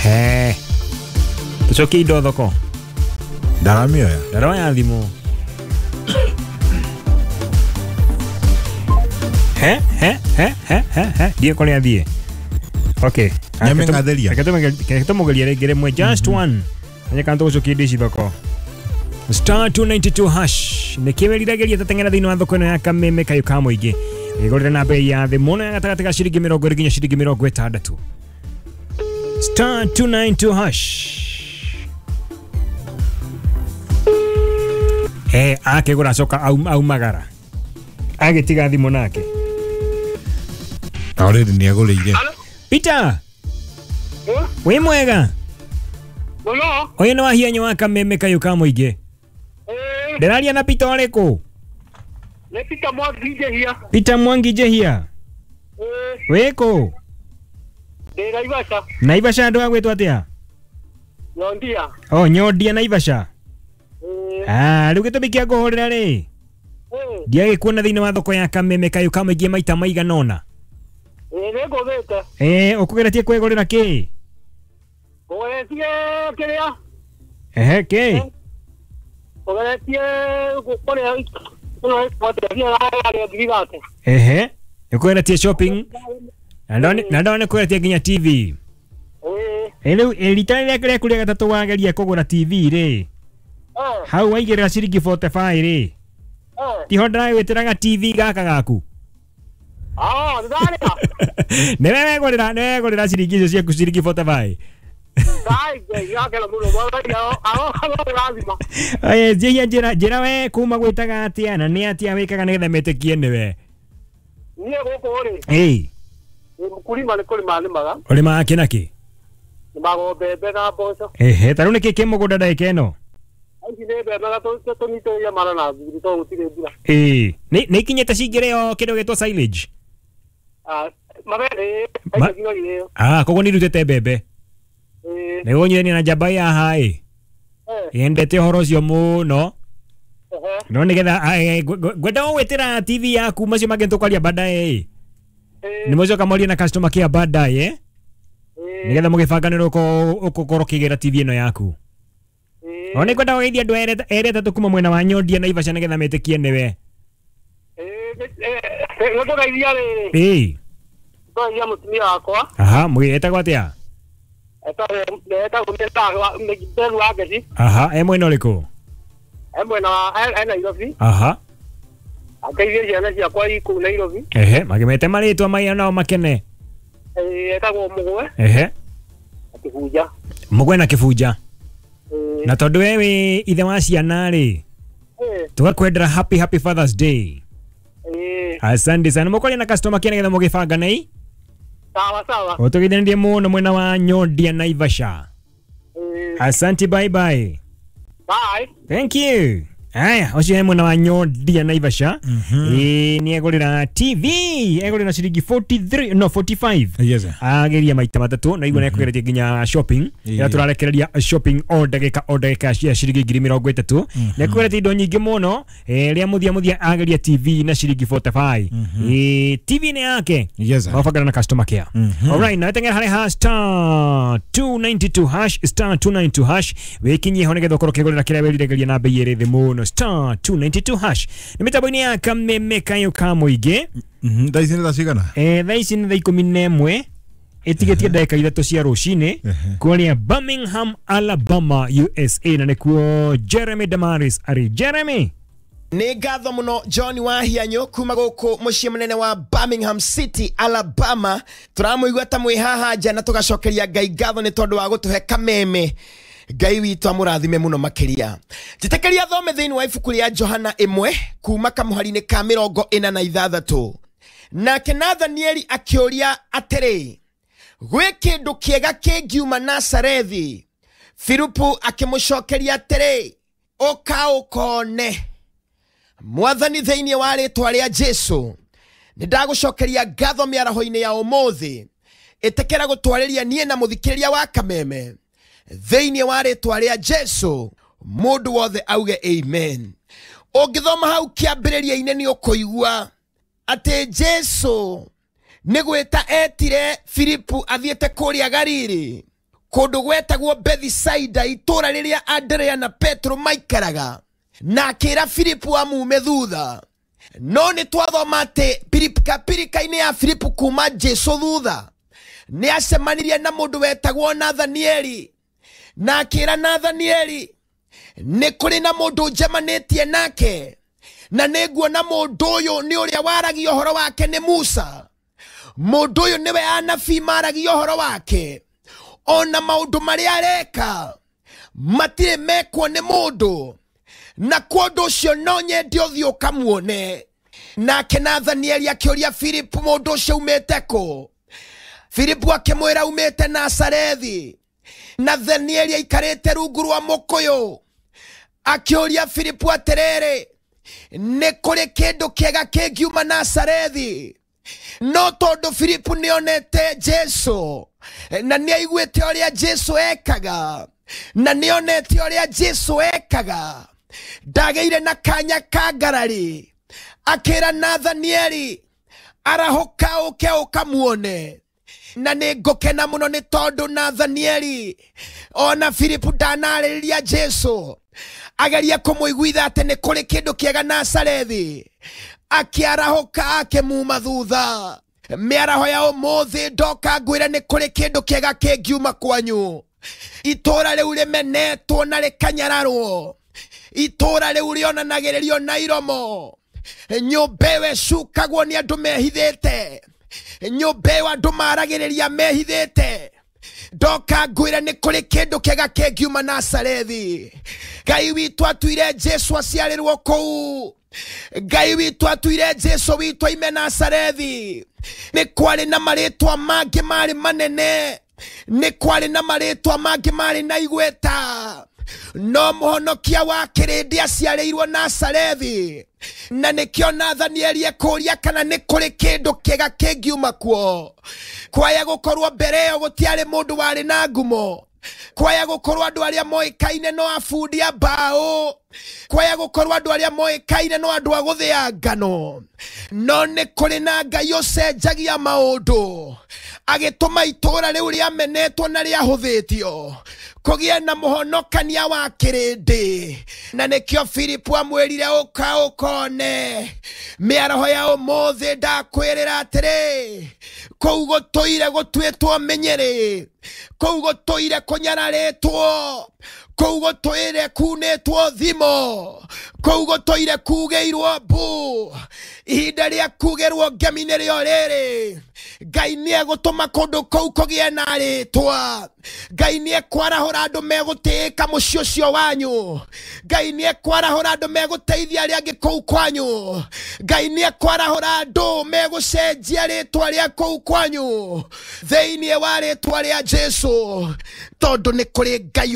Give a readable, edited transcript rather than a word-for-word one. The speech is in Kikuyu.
He. Tucokie indo thoko. Ndaramioya. Ndaroya thimũ. He he he he he he. Ndiĩ kũrĩa thiĩ. Okay. Nyamĩng'athĩria. Reke tũmũgerie rĩngĩ rĩmwe just one. Anya kana tũgũcokia indo ici thoko. Star 292 hash. Nĩkĩ wĩriragĩria tateng'era thĩinĩ wa thoko ĩno ya Kameme kayũ ka mũingĩ. Wĩgũrĩre na bei ya thĩ mũno ya gatagatĩ ga ciringi 20 nginya ciringi 60. Star 292 hash. He akĩgũra acoka aumagara. Agĩtiga thimũ nake. Already nĩagũrĩire. Peter. Wĩ mwega? Mũno. Ũyũ nĩ wahianyo wa Kameme kayũ ka mũingĩ. Ndĩraria na Peter ũrĩkũ? Nĩ Peter Mwangi Njehia. Peter Mwangi Njehia. Wĩkũ? Ndĩ Naivasha. Naivasha andũ a gwĩtwo atĩa? Nyondia. Oh, Nyondia Naivasha. Ah, rĩu gĩtũmi kĩa ngũhũrĩra rĩ. Ndiagĩkuona thĩinĩ wa thoko ya Kameme kayũ ka mũingĩ maita maigana ũna. Nĩngũthĩte. Ũkũgeretie kwĩgũrĩra kĩ? Ngũgeretie kĩrĩa? Ehe, kĩ? Ngũgeretie kũrĩa. Ehe, nĩkũgeretie shopping. Na ndona nĩkũgeretie nginya TV. Rĩu rita rĩrĩa rĩaku rĩa gatatũ wageria kũgũra TV rĩ. Hau waigĩrĩra ciringi 45 rĩ. Tiho ndĩragwĩtĩraga TV gaka gaku. Ah, ndarĩa. Nĩwe wegũrĩra, nĩwe wegũrĩra ciringi icio ciaku ciringi 45. Aya, njĩhia njĩra we kuma gwĩtaga atĩa na nĩ atĩa wĩkaga nĩgetha metĩkie nĩwe. Niĩ gũkũ rĩ. Ĩĩ. Mũkulima nĩ kũrĩma nĩmaga. Ũrĩmaga kĩ na kĩ? Nĩmaga mbembe na mboco. Ehe, ta rĩu nĩkĩ kĩ mũgũnda ndagĩka ĩno? Ici nĩ mbembe na tũnyitĩrĩire mara na thuri tondũ gũtirĩ mbura. Ĩĩ. Nĩ ikinyĩte cingĩrĩo kĩndũ gĩtwo silage? Mabere. Ah, koguo nĩ irutĩte mbembe. Nĩguo nyithania na njamba ya haha ĩ. Yendete ũhoro ũcio mũno. No nĩgetha ngwenda gũgwĩtĩra TV yaku macio mangĩ tũkwaria baadaye ĩ. Nĩ mũcoka mwarie na customer care baadaye. Nĩgetha mũgĩbanganĩrwo ũgũkorwo ũkĩgĩra TV ĩno yaku. O nĩ ngwenda gũgeithia andũ erĩ atatũ kuma mwena wa Nyondia Naivasha nĩgetha metĩkie nĩwe. Nĩngũgeithia rĩrĩ. Ĩĩ. Ngũgeithia mũtumia wakwa. Aha, etagwo atĩa? Etagwo Mberu wa Ngeci. Aha, e mwena ũrĩkũ? E mwena wa e Nairobi. Aha. Ageithie ciana ciakwa i kũu Nairobi. Ehe, makĩmete marĩtwa maya nao makene. Etagwo Mũgwe. Ehe. Na Kĩbunja. Mũgwe na Kĩbunja. Na tondũ we wĩ ithe wa ciana rĩ, tũgakwendera happy happy Father's Day. Asante sana. Mũkwaria na customer care nĩgetha mũgĩbangane ĩ. Sawa sawa. Ũtũgeithanirie mũno mwena wa Nyondia Naivasha. Asante, bye bye. Bye. Thank you. Aya, ũcio he mwena wa Nyondia Naivasha. Ĩĩ nĩ egũrĩra TV, egũrĩra ciringi 43 no 45. Yes. Ageria maita matatũ na igua nĩ ekũgeretie nginya shopping. Ĩrĩa tũrarekereria shopping o ndagĩka cia ciringi 30,000. Nĩ ekũgeretie indo nyingĩ mũno. Rĩa mũthia mũthia ageria TV na ciringi 45. Ĩĩ TV nĩ yake. Yes. Mabangana na customer care. Alright, na tengera harĩ hash star 292 hash star 292 hash. Wĩkinyie ho nĩgetha ũkorwo ũkĩgũrĩra kĩrĩa wĩriragĩria na bei ĩrĩ thĩ mũno. Star 292 hash. Nĩ mĩtambo-inĩ ya Kameme kayũ ka mũingĩ. Thaa ici nĩ thaa cigana? Thaa ici nĩ thaa 11 ĩtigĩtie ndagĩka 3 cia rũcinĩ kũrĩa Birmingham, Alabama, USA, na nĩkuo Jeremy Damaris arĩ. Jeremy. Nĩ ngatho mũno John Wahianyo kuma gũkũ mũciĩ mũnene wa Birmingham City, Alabama. Tũramũigua ta mwĩ haha nja na tũgacokeria Ngai ngatho nĩ tondũ wa gũtũhe Kameme. Ngai witũ amũrathime mũno makĩria. Njĩtĩkĩria thome thĩinĩ wa ibuku rĩa Johana 1 kuma kamũhari-inĩ ka 46. Nake Nathanieli akĩũria atĩrĩ, gwĩ kĩndũ kĩega kĩngiuma Nazarethi? Filipu akĩmũcokeria atĩrĩ, ũka ũkone. Mwathani thĩinĩ wa rĩtwa rĩa Jesu, nĩ ndagũcokeria ngatho mĩaraho-inĩ ya ũmũthĩ. Ĩtĩkĩra gũtwarĩria niĩ na mũthikĩrĩria wa Kameme thĩinĩ wa rĩtwa rĩa Jesu. Mũndũ wothe auge amen. Ũngĩthoma hau kĩambĩrĩria-inĩ nĩ ũkũigua atĩ Jesu nĩ gwĩta etire Filipu athiĩte kũrĩa Galili Kũndũ gwetagwo Bethisaida, itũũra rĩrĩa Andrea na Petro maikaraga, na akĩra Filipu amume thutha. No nĩ twathoma atĩ pirikapirika-inĩ ya Filipu kuma Jesu thutha nĩ acemanirie na mũndũ wetagwo Nathanieli, na akĩra Nathanieli, nĩ kũrĩ na mũndũ njemanĩtie nake, na nĩ nguona mũndũ ũyũ nĩ ũrĩa waragia ũhoro wake nĩ Musa. Mũndũ ũyũ nĩwe anabii maragia ũhoro wake, ona maũndũ marĩa areka matirĩ mekwo nĩ mũndũ, na kwa ũndũ ũcio no nyende ũthiĩ ũkamuone. Nake Nathanieli akĩũria Filipu, mũndũ ũcio umĩte kũ? Filipu akĩmwĩra, umĩte Nazarethi. Nathanieli aikarĩte rungu rwa mũkũyũ akĩũria Filipu atĩrĩrĩ, nĩ kũrĩ kĩndũ kĩega kĩngiuma Nazarethi? No tondũ Filipu nĩonete Jesu na nĩaiguĩte ũrĩa Jesu ekaga, na nĩonete ũrĩa Jesu ekaga, ndagĩire na kanya ka ngarari. Akĩra Nathanieli, arahũka ũke ũkamuone. Na nĩ ngũkena mũno nĩ tondũ Nathanieli ona Filipu ndanarĩrĩria Jesu ageria kũmũiguitha atĩ nĩ kũrĩ kĩndũ kĩega Nazarethi, akĩarahũka akĩmuma thutha. Mĩaraho ya ũmũthĩ ndoka ngwĩre nĩ kũrĩ kĩndũ kĩega kĩngiuma kwanyu. Itũũra rĩu rĩmenetwo na rĩkanyararwo, itũũra rĩu rĩonanagĩrĩrio na iromo, nyũmba ĩyo ĩcukagwo nĩ andũ mehithĩte, nyũmba ĩyo andũ maragĩrĩria mehithĩte. Ndoka ngwĩre nĩ kũrĩ kĩndũ kĩega kĩngiuma Nazarethi. Ngai witũ atuire Jesu aciarĩrwo kũu. Ngai witũ atuire Jesu witũ aime Nazarethi. Nĩ kwarĩ na marĩtwa mangĩ marĩ manene, nĩ kwarĩ na marĩtwa mangĩ marĩ na igweta, no mũhonokia wa kĩrĩndĩ aciarĩirwo Nazarethi. Na nĩkĩo Nathanieli ekũria kana nĩ kũrĩ kĩndũ kĩega kĩngiuma kuo. Kwaya gũkorwo mbere ĩyo gũtiarĩ mũndũ warĩ na ngumo, kwaya gũkorwo andũ arĩa moĩkaine no abundi a mbaũ, kwaya gũkorwo andũ arĩa moĩkaine no andũ a gũthĩa ngano, no nĩ kũrĩ na Ngai ũcenjagia maũndũ, agĩtũma itũũra rĩu rĩamenetwo na rĩahũthĩtio kũgĩe na mũhonokania wa kĩrĩndĩ. Na nĩkĩo Filipu amwĩrire, ũka ũkone. Mĩaraho ya ũmũthĩ ndakwĩrĩra atĩrĩ, kũu gũtũire gũtuĩtwo mĩnyĩrĩ, kũu gũtũire kũnyararĩtwo, kũu gũtũire kunĩtwo thimo, kũu gũtũire kugĩirwo mbu. Ihinda rĩa kugĩrwo ngemi nĩrĩo rĩrĩ. Ngai nĩegũtũma kũndũ kũu kũgĩe na rĩtwa. Ngai nĩekwarahũra andũ megũtĩĩka mũciĩ ũcio wanyu. Ngai nĩekwarahũra andũ megũteithia arĩa angĩ kũu kwanyu. Ngai nĩekwarahũra andũ megũcenjia rĩtwa rĩa kũu kwanyu thĩinĩ wa rĩtwa rĩa Jesu, tondũ nĩ kũrĩ Ngai.